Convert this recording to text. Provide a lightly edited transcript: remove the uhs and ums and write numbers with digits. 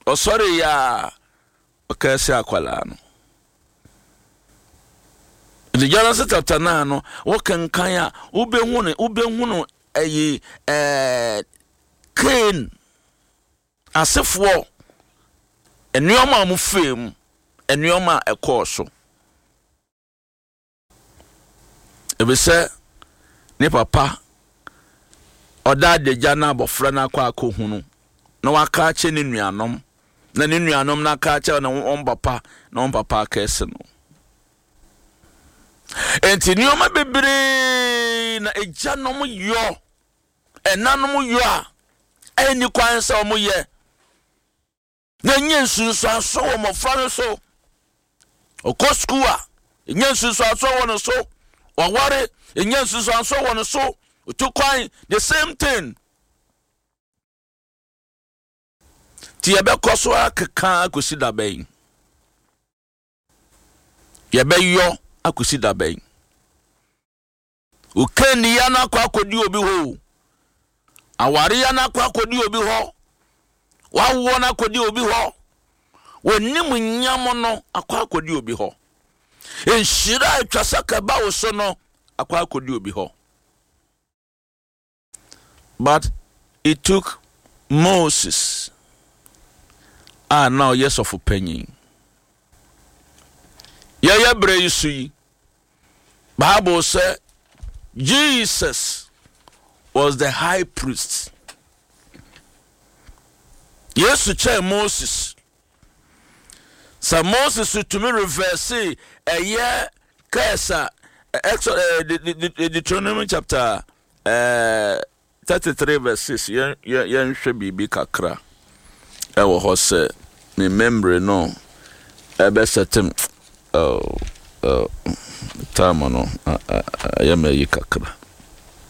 Ɔsɔreeɛ a, ɔkɛɛse akwadaa no. Nti Genesis chapter 9 no, wokenkan a, wobɛhu no, wobɛhu no ɛyi ɛɛ Cain asefoɔ nneɛma a wɔfaa mu, nneɛma a ɛkɔɔ so. Efisɛ ne papa ɔda adagya na abɔfra no akɔ akɔhunu na waka akyerɛ ne nuanom na ne nuanom no aka akyerɛ ne wɔn papa na wɔn papa akɛse no. Enti nneɛma bebree na agyanom yɔ, ɛnanom yɔ a ɛnni kwan sɛ wɔyɛ. Na ɛnya nsunsuansoɔ wɔ mmɔfra no so. Ɔkɔ sukuu a, ɛnya nsunsuansoɔ wɔ ne so. Waware, ɛnya nsunsuansoɔ wɔ ne so. Otu kwan, the same thing. Nti yɛbɛkɔ so akeka akɔsi da bɛn? Yɛbɛyɔ akɔsi da bɛn? Wo kanniya no akɔ akɔdi obi hɔ o. Awareya no akɔ akɔdi obi hɔ. W'awoɔ no akɔdi obi hɔ. W'anim nyam no akɔ akɔdi obi hɔ. Nhyira a atwa sɛ kɛba wo so no akɔ akɔdi obi hɔ. But it took Moses a na ɔyɛ sɔfo panyin. Yɛyɛ berɛ yi so yi, Bible sɛ Jesus was the high priest. Yesu kyɛn Moses. Sɛ Moses tumi reverse ɛyɛ curse a Exodus Deuteronomy chapter 33 verse 6 yɛn yɛnhwɛ biribi kakra ɛwɔ hɔ sɛ me memory no ɛbɛsɛtem oh, oh, time no ɛyɛ ma ayi kakra.